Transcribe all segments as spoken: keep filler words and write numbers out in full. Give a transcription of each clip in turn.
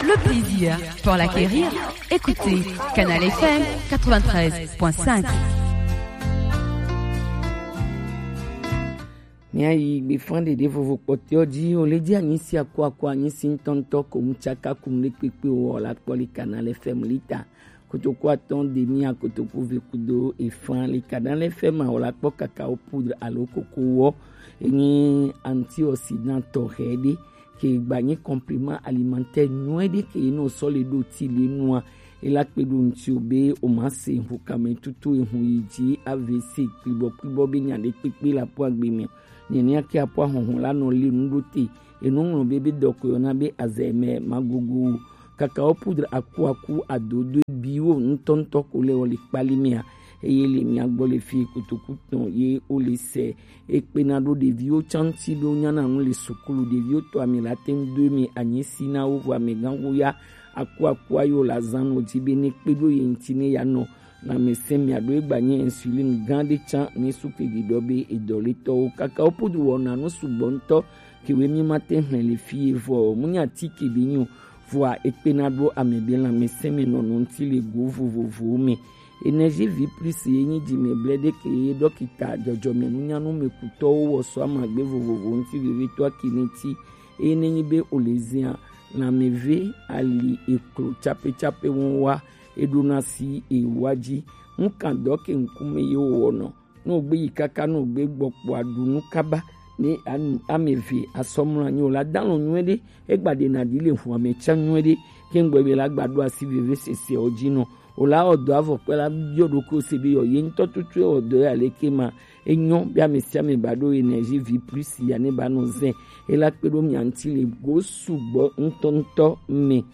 Le plaisir pour l'acquérir, écoutez Canal F M quatre-vingt-treize point cinq. Míayi gbefan ɖeɖe vovo kpɔtɔewo ji, o le ji anyi si akuaku anyi si ŋutɔŋutɔ ko ŋutsaka kum ɖe kpekpe o, la kpɔ le Canal F M lita. Kotoku atɔ̃ demi a kotoku ve kudo efã le Canal F M a, o la kpɔ kakao poudre alo koko wɔ. Enyi antioxydant tɔxɛ ɖe ke gba nyi complément alimentaire nyuie ɖe ke ye nɔ sɔ le ɖo ti le nua. E la kpe ɖo ŋuti o be o ma se ŋu kame tutu ehu yi ji A V C kplibɔ kplibɔ be nya ɖe kpekpe la po agbe mɛ. Nɛnɛ ke apo ahɔhɔn la nɔ le nu ɖo te. Enu ŋlɔ be be dɔ ko yɔna be Alzheimer magogo o. Kakao poudre akuaku adodo biwo ŋutɔŋutɔ ko le wɔ le kpali mia. Eye le mia gbɔ le fi kotoku tɔn ye o le se. Ekpena ɖo ɖeviwo tsanti be wo nyana nu le sukulu. Ɖeviwo tɔ ame la te ŋu do eme anyi si na wo vɔ amegãxo ya akuaku ayo la zan nɔ di be ne kpe ɖo ye ŋuti ne ya nɔ lãmesẽ mia ɖo egba nye insuline gã ɖe tsã ne su ke ɖiɖɔ be edɔletɔwo. Kakao poudre wɔna nu sugbɔ ŋutɔ ke we mi ma te hlẽ le fi ye vɔ o. Mu nya ti ke be nyo vɔa ekpena ɖo ame be lãmesẽ me nɔnɔ ŋuti le go vovovowo me. Energie vie plus ye nyi dzimɛblɛ ɖe ke ye ɖɔkita dzɔdzɔmenunyanu me kutɔwo wɔ sɔ amagbe vovovo ŋuti vevetɔ akini ti. Eye ne nyi be o le zia lãmeve ali eklo tsapetsape wɔn wa, eɖona si ewa dzi. Ŋkan dɔ ke ŋkume ye wowɔnɔ. Ne wògbe yi kaka ne wògbe gbɔ kpoa ɖu nu kaba ne anu ame eve asɔmlɔ anyi o la dalɔn nyuie ɖe. Egba ɖe na ɖi le hu ame tsa nyuie ɖe. Ke ŋgbɔ be la gba ɖo asi veve sese o dzi nɔ o la wɔ dɔ avɔ kpe la biɔ ɖo ko se be yɔ ye ŋutɔ tutu ewɔ dɔ ya le ke ma. Enyɔ be ame sia ame ba ɖo energie vie plus ya ne ba nɔ zɛ. Ela kpe ɖo mia ŋuti le go sugbɔ ŋutɔŋutɔ me.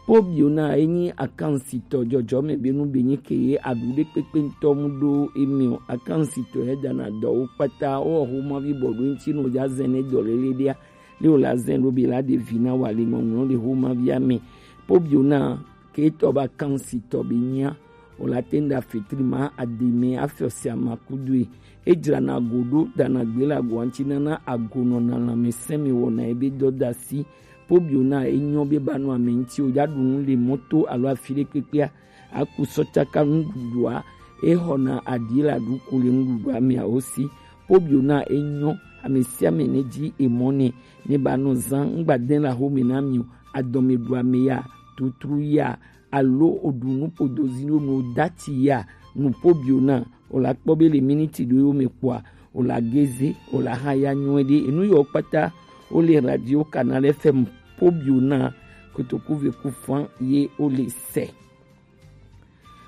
Pobiona enyi akansitɔ dzɔdzɔme be nu be nyi ke ye aɖu ɖe kpekpe ŋutɔ mu ɖo emi o. Akansitɔ ye dana dɔwo kpata wo xoma vi bɔ ɖo ŋuti no dza zɛn ne dɔ lele ɖia. Le o la zɛn ɖo be la ɖe vi na wa le ŋɔŋlɔ ɖe xoma via me. Pobiona ke tɔ ba akansitɔ be nyia o la te ŋda fitri ma ademe afiɔ sia ma kudoe. Edzrana go ɖo dana gbe le agoa ŋuti nana agonɔ na lãmesẽ me wɔna ebe dɔ da si. Pobiona enyɔ be ba nɔ ame ŋuti o dza ɖu nu le mɔto alo afi ɖe kpekpea. Aku sɔ tsaka nuɖuɖua, exɔna aɖi la ɖu ku le nuɖuɖua mea wo si. Pobiona enyɔ ame sia ame ne dzi emɔ ne ne ba nɔ zan ŋgba de la xome na mi o. Adɔme ɖu ame ya tutru ya alo oɖu nu podo zi ɖo nu dati ya nu pobiona o la kpɔ be le miniti ɖo yo me kpɔa o la geze o la ha ya nyuie ɖe enu yɔ kpata o le radio Canal F M pobiona kotoku ve ku fan ye o le se.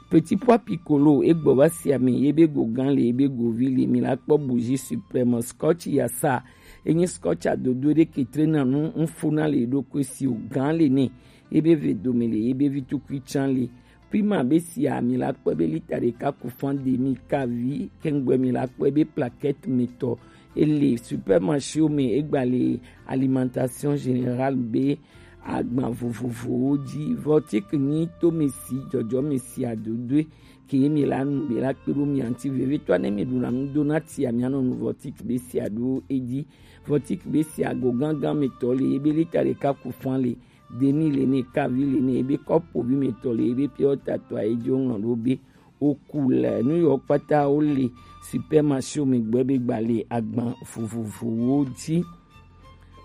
Petit pois piccolo egbɔ va si ame ye be go gan le ye be go vi le mi la kpɔ bougie suprême scotch ya sa enyi scotch adodo ɖe ke tre na nu ŋfo na le ɖo ko si o gan le ne ye be ve dome le ye be vi tukui tsan le. Prima be sia mi la kpɔe be lita ɖeka ku fan demi kavi kengbe mi la kpɔe be plaquette mi tɔ ele supermarché me egba le alimentation générale be agban vovovowo dzi. Vɔtik nyi to mi si dzɔdzɔ mi si adodoe ke mi la nu be la kpe ɖo mi anti vevitɔ ne mi ɖuna nu do na tia mi anɔ nu vɔtik be sia ɖo edzi. Vɔtik be sia go gangan mi tɔ le ebe lita ɖeka ku fan le demi le ne kavi le ne ebe kɔpo vi mi tɔ le ebe piɔ tatɔ ayi dzo ŋlɔ ɖo be oku le nu yɔ kpata wo le supermarché mi gbɔ be gba le agban vovovowo dzi.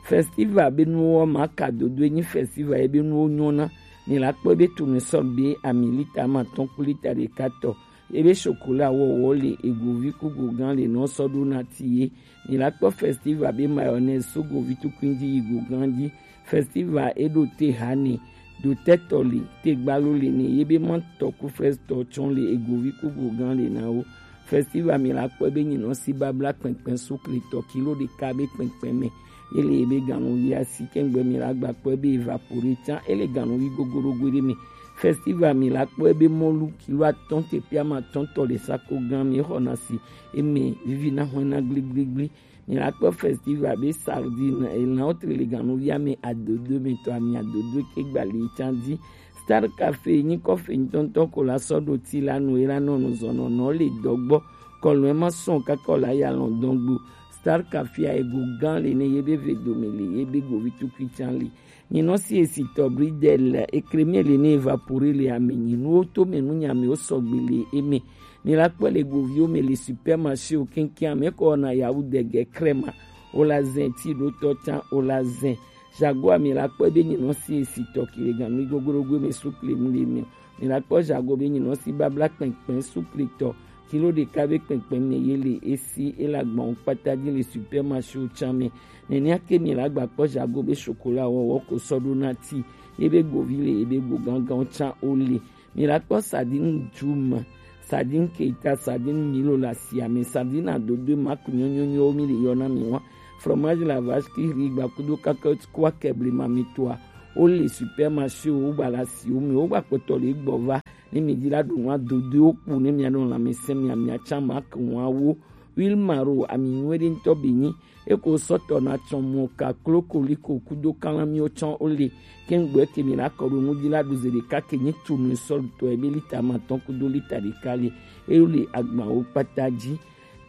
Festival be nuwo ma ka dodo enyi festival ye be nuwo nyɔna. Mi la kpɔ be tournesol be ami lita ma tɔn ku lita ɖeka tɔ. Ebe chocolat wɔwɔ le egovi ku gogan le nɔ sɔ ɖo na ti ye. Mi la kpɔ festival be mayonnaise so govi tukui ji yi gogan ji. Festival eɖo te ha ne do tɛtɔ le te gbalo le ne ye be ma tɔ ku frɛstɔ tsɔn le egovi ku gogan le na wo. Festival mi la kpɔe be nyinɔ si babla kpɛnkpɛn sukle tɔ kilo ɖeka be kpɛnkpɛn mɛ. Ele ye be ganuvi asi kɛngbe mi la gba kpɔe be evapore tsan ele ganuvi gogorogo ɖe mɛ. Festival mi la kpɔe be mɔlu kilo atɔn te piama tɔn tɔ le sako gan mi xɔna si eme vivi na hɔn na gbligbligbli. Mi la kpɔ festival be sardine elan wo tre le ganuvia me adodo mi tɔ ami adodo ke gbali tsan di. Star Café nyi kɔfe ŋutɔŋutɔ ko la sɔ ɖo ti la nu ye la nɔ nu zɔnɔnɔ le dɔgbɔ. Kɔlɔn ma sɔn kakɔ la ya lɔn dɔn gbo. Starka fia ego gã le ne ye be ve dome le, ye be govi tukui can le. Nyinɔ si esitɔ bridel ekremi le ne evapore le ame nyinuwo to me nu nya amewo sɔgbe le eme. Mi la kpɔ le goviwo me le supermarché wo keŋkeŋ, ame kɔ na yawu dege krema. Wo la zɛn ti ɖo tɔ can, wo la zɛn. Jago ami la kpɔ be nyinɔ si esitɔ ki le ganu gogorogo me sukle mu le me. Mi la kpɔ jago be nyinɔ si babla kpɛnkpɛn sukle tɔ kilo ɖeka be kpɛnkpɛn me ye le esi e la gbɔn kpata di le supermarché wo can me. Nenea ke mi la gba kpɔ jago be chocolat wɔwɔ ko sɔ ɖo na ti ye be govi le ye be go gangan can wo le. Mi la kpɔ sardine juma, sardine keita, sardine milo la sia me, sardine adodo maku nyonyonyo mi le yɔ na mi wa. Fromage la vache qui rit gba kudo kakɔt kwa kɛble ma mi toa. Wo le supermarché wo gba la si wo me wo gba kpɔtɔ le gbɔ va. Ne mi di la ɖo nua dodo wo kpu ne mia ɖo lãmesẽ mia mia can ma ke nua wo. Huile maro ami nyuie ɖe ŋutɔ be nyi. Eko sɔtɔ na tsɔmɔ ka klo koliko kudo kalamiwo tsɔ ole. Kɛŋgbɛ ke mi la kɔ ɖo ŋudi la ɖu ze ɖeka ke nyi tunu sɔlutɔ ebe lita matɔn kudo lita ɖeka le. Eyo le agbawo kpata dzi.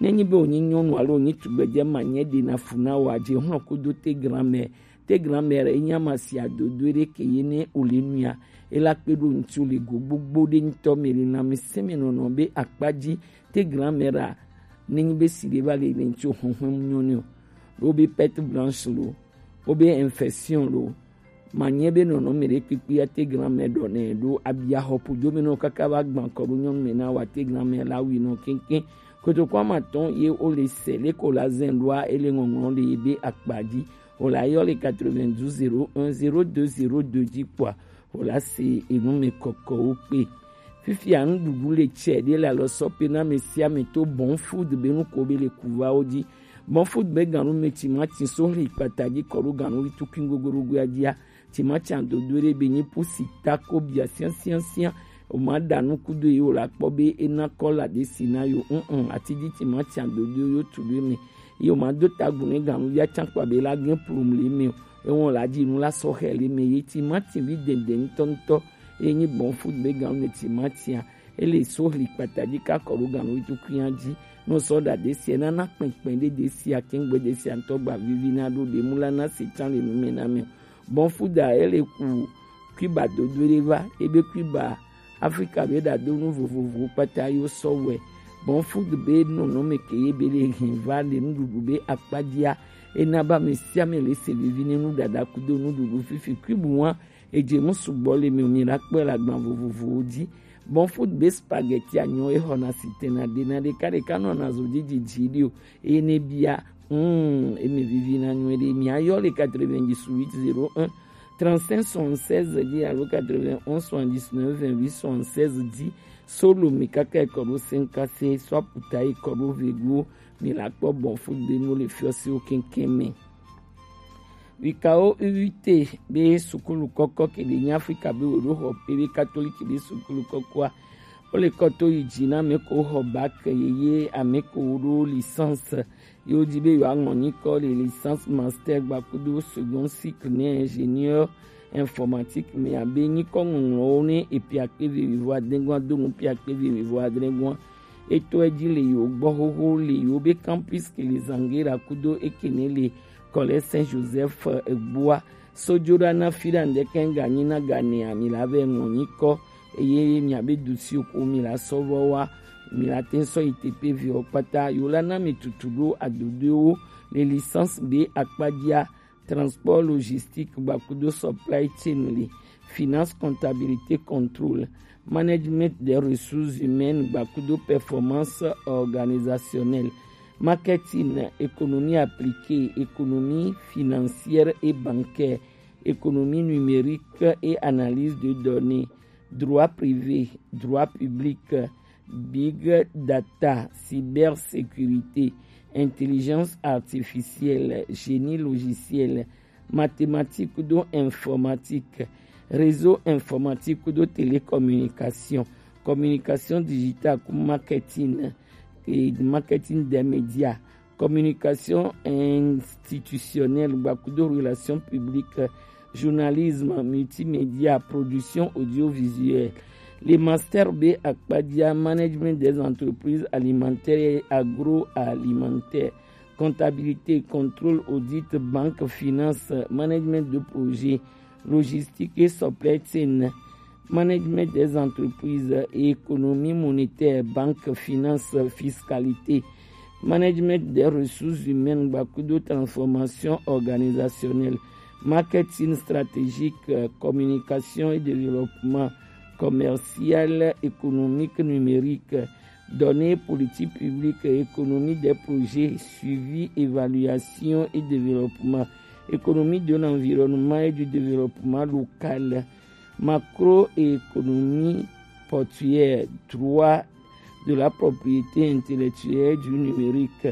Ne nyi be wonyi nyɔnu alo wonyi tugbedze ma nye ɖe na fu na wa dze hlɔ kudo te grand-mère. Te grand-mère enyi ama si adodo ɖe ke ye ne ole nuya. Ela kpe ɖo ŋuti le go gbogbo ɖe ŋutɔ me le na mi sɛmɛ nɔnɔ be akpa dzi. Te grand-mère a ne nyi be si ɖe va le le ŋuti hɔhɔn nyɔ ne o. Ɖo be perte blanche lo. Wo be infection lo. Ma nye be nɔnɔme ɖe kpekpe ate grand-mère ɖɔ nɛ ɖo abia xɔ ƒodo me nɔ kaka va gbã kɔ ɖo nyɔnu me na wa te grand-mère la wi nɔ keŋkeŋ. Kotoko ama tɔn ye wo le se le ko la zɛn ɖoa ele ŋɔŋlɔ le ye be akpa dzi. Wo la yɔ le quatre-vingt-douze zéro un zéro deux zéro deux dzi kpɔa. Wo la se enu me kɔkɔwo kpe. Fifia nuɖuɖu le tsɛ ɖe le alɔ sɔ pe na ame sia ame to Bon Food be nu ko be le kuvawo dzi. Bon Food be ganu me timati so hli kpata dzi kɔ ɖo ganu tukui gogoɖogoa dzia. Timati adodo ɖe be nyi pusi tako bia siasiasia. O ma ɖa nu kudo ye o la kpɔ be ena kɔla ɖe si na yo. Mm, ati dzi timati adodo yo tu ɖe me. Ye o ma do tagu ne ganu ya can kpa be la gen plum le me o. Ewɔn la dzi nu la sɔ xɛ le me ye timati vi dɛndɛn ŋutɔŋutɔ. Ye nyi Bon Food be ganu me timatia. Ele so hli kpata dzi ka kɔ ɖo ganu wi tukui ya dzi. No sɔ ɖa ɖe sia nana kpɛnkpɛn ɖe ɖe sia kɛŋgbɛ ɖe sia ŋutɔ gba vivi na ɖo ɖe mu la na se can le nu me na me. Bon Food a ele ku kuiba dodo ɖe va ebe kuiba Afrika be ɖa do nu vovovowo kpata yo sɔ wɛ. Bon Food be nɔnɔme ke ye be le hin va le nuɖuɖu be akpa dzia. Ena ba me sia me le se vivi ne nuɖaɖa kudo nuɖuɖu fifi kuibu wa. Edze mu sugbɔ le mi o mi la kpɔe le agban vovovowo dzi. Bon Food be spaghetti anyɔ exɔna sitena ɖena ɖeka ɖeka nɔna zo dzidzi dzi ɖi o. Eye ne bia, mm, eme vivi na nyuie ɖe. Mi ayɔ le quatre-vingt-dix-huit zéro un trente-cinq soixante-seize dzi alo quatre-vingt-onze soixante-dix-neuf vingt-huit soixante-seize dzi. Solo mi kaka ekɔ ɖo senkase, so aputa ekɔ ɖo vego, mi la kpɔ Bon Food be nu le fiɔsiwo keŋkeŋ me. Wikawo U U T be sukulu kɔkɔ ke ɖe nyi Afrika be wo ɖo xɔ pe be katoliki be sukulu kɔkɔa. Wo le kɔ to yi dzi na ame ko xɔ bac yeye, ame ko wo ɖo licence. Ye wo dzi be yewoa ŋlɔ nyikɔ le licence, master gba kudo second cycle ne ingénieur informatique me abe nyikɔ ŋɔŋlɔwo ne epia kpe ve wivo adegɔn do nu pia kpe ve wivo adegɔn. Etɔe dzi le yewo gbɔ xoxo le yewo be campus ke le Zangera kudo eke ne le Collège Saint Joseph, eh, gbɔa. Sojoɖa na fi ɖa ŋdeke ŋganyi na ganea mi la vɛ ŋlɔ nyikɔ eye mia be dusi ko mi la sɔ vɔ wa mi la te sɔ yi teƒe viwo kpata yewo la na mi tutu ɖo adodoewo le licence be akpa dzia. Transport logistique gba kudo supply chain li, finance, comptabilité, contrôle, management des ressources humaines gba kudo performance organisationnelle, marketing, économie appliquée, économie financière et bancaire, économie numérique et analyse de données, droit privé, droit public, big data, cybersécurité, intelligence artificielle, génie logiciel, mathématiques kudo informatique, réseau informatique kudo télécommunication, communication digitale ku marketing, et marketing des médias, communication institutionnelle gba kudo relations publiques, journalisme, multimédia, production audiovisuelle. Le master be akpa dzia, management des entreprises alimentaires et agroalimentaires, comptabilité, contrôle, audit, banque, finance, management de projet, logistique et supply chain, management des entreprises, économie monétaire, banque, finance, fiscalité, management des ressources humaines, gbakudo transformation organisationnelle, marketing stratégique, euh, communication et développement, commercial, économique, numérique, données, politique publique, économie des projets, suivi, évaluation et développement, économie de l'environnement et du développement local, macroéconomie portuaire, droit de la propriété intellectuelle, du numérique,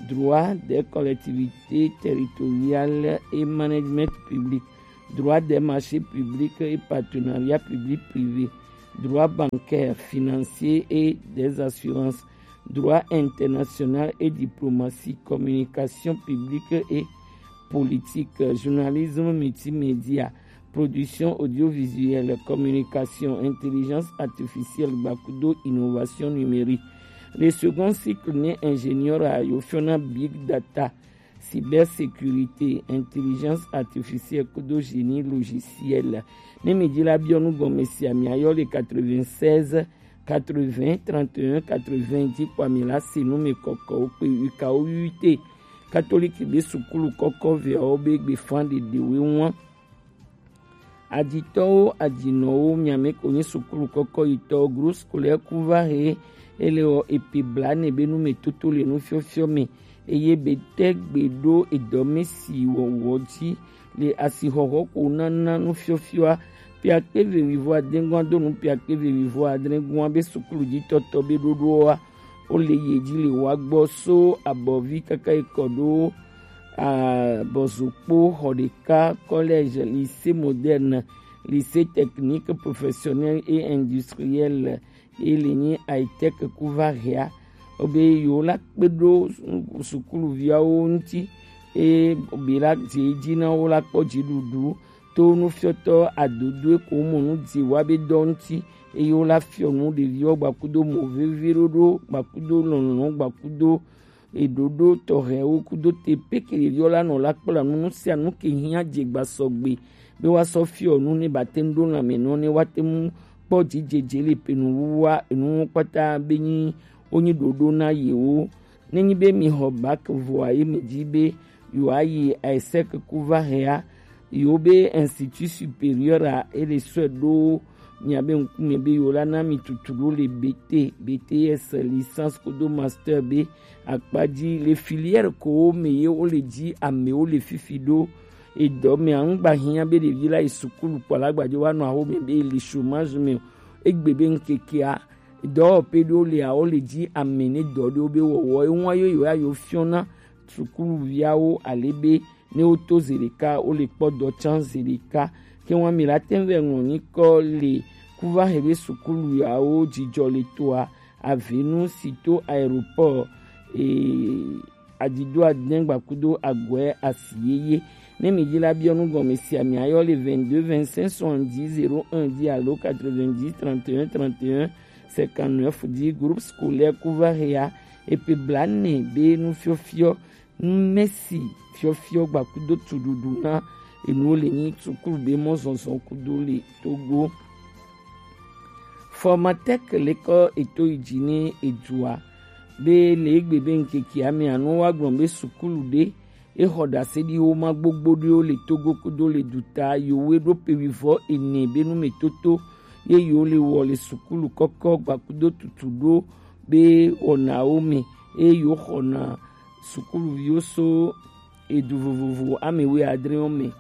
droit des collectivités territoriales et management public, droit des marchés publics et partenariat public-privé, droit bancaire, financier et des assurances, droit international et diplomatie, communication publique et politique, journalisme multimédia, production audiovisuelle, communication, intelligence artificielle, gbakudo innovation numérique. Le second cycle ne ingénieur a yo fiona big data, cybersécurité, intelligence artificielle, kudo génie logiciel. Ne mi di la bionu gɔme si ami ayo le quatre-vingt-seize, quatre-vingts, trente et un, quatre-vingts, di kwa mi la si nu mi kɔkɔ o pe uka o ute. Catholique be sukulu kɔkɔ ve o be gbe fan de de we wan. Aditɔwo, adinɔwo, miame ko nyi sukulu kɔkɔ yitɔ, groupe scolaire Kuvahe, ele wɔ epe blane be nu me toto le nu fiɔfiɔ me, eye be te gbe ɖo edɔ me si wɔwɔ dzi le asixɔxɔ ko nana nu fiɔfiɔa, piakpe ve wivɔ adengɔa do nu piakpe ve wivɔ adregɔa be sukulu dzi tɔtɔ be ɖoɖoa, wo le ye dzi le wa gbɔ so abɔvi kaka ekɔ ɖo abɔzokpo xɔ ɖeka, collège, lycée moderne, lycée technique professionnel et industriel, ye le nyi high-tech Kuvahea, wo be yewo la kpe ɖo sukuluviawo ŋuti, eye be la dze edzi na wo la kpɔ dziɖuɖu to nufiɔtɔ adodoe ko mɔ nu dzi wa be dɔ ŋuti, eye wo la fiɔ nu ɖeviwo gbakudo mɔ vevi ɖoɖo, gbakudo lɔlɔ, gbakudo eɖoɖo tɔxɛwo kudo te peke ɖeviwo la nɔ la kpla nu, nu sia nu ke hiã dze gba sɔgbe be wa sɔ fiɔ nu ne ba te ŋu ɖo lãme nɔ ne wa te ŋu kpɔ dzidzedze le pe nu wuwa enu kpata be nyi wo nyi ɖoɖo na yewo. Ne nyi be mi xɔ bac vɔa ye mi dzi be yewo ayi high-tech Kuvahea, yewo be institut supérieur a ele sɔe ɖo miabe ŋkume be yewo la na mi tutu ɖo le B T, B T S, licence kudo master be akpa dzi le filière ko me ye wo le dzi amewo le fifi ɖo. Edɔ me a ŋgba hiã be ɖevi la yi sukulu kpɔ la gbadze wa nɔ awo me be le chômage me o. Egbe be ŋkekea dɔwɔƒe ɖewo le awo le dzi ame ne dɔ ɖewo be wɔwɔ eŋua yo yewo ayo fiɔna sukuluviawo ale be ne woto zi ɖeka wo le kpɔ dɔ tsã zi ɖeka. Ke ŋua mi la te ŋu vɛ ŋlɔ nyikɔ le Kuvahe be sukuluawo dzidzɔ le toa, avenu si to aéroport e adido adɛn gbakudo agɔɛ asi yeye. Ne mi dzi la biɔ nu gɔme sia mi ayɔ le vingt-deux vingt-cinq soixante-dix zéro un dix alo quatre-vingt-dix trente et un trente et un cinquante-neuf dzi. Groupe scolaire Kuvahea epe blane be nu fiɔfiɔ nu mesi fiɔfiɔ gbakudo tuɖuɖu na enuwo le nyi sukulu be mɔ zɔzɔ kudo le Togo. Formatec lekɔ eto yi dzi ne edua be le egbe be ŋkeke ame anu wa gblɔ be sukulu ɖe exɔ ɖase ɖi wo ma gbogbo ɖewo le Togo kudo le duta yewo ɖo pe wivɔ ene be nu me toto ye yewo le wɔ le sukulu kɔkɔ gbakudo tutu ɖo be wɔnawo me eye yewo xɔna sukuluviwo so edu vovovo ame wuiadrewo me.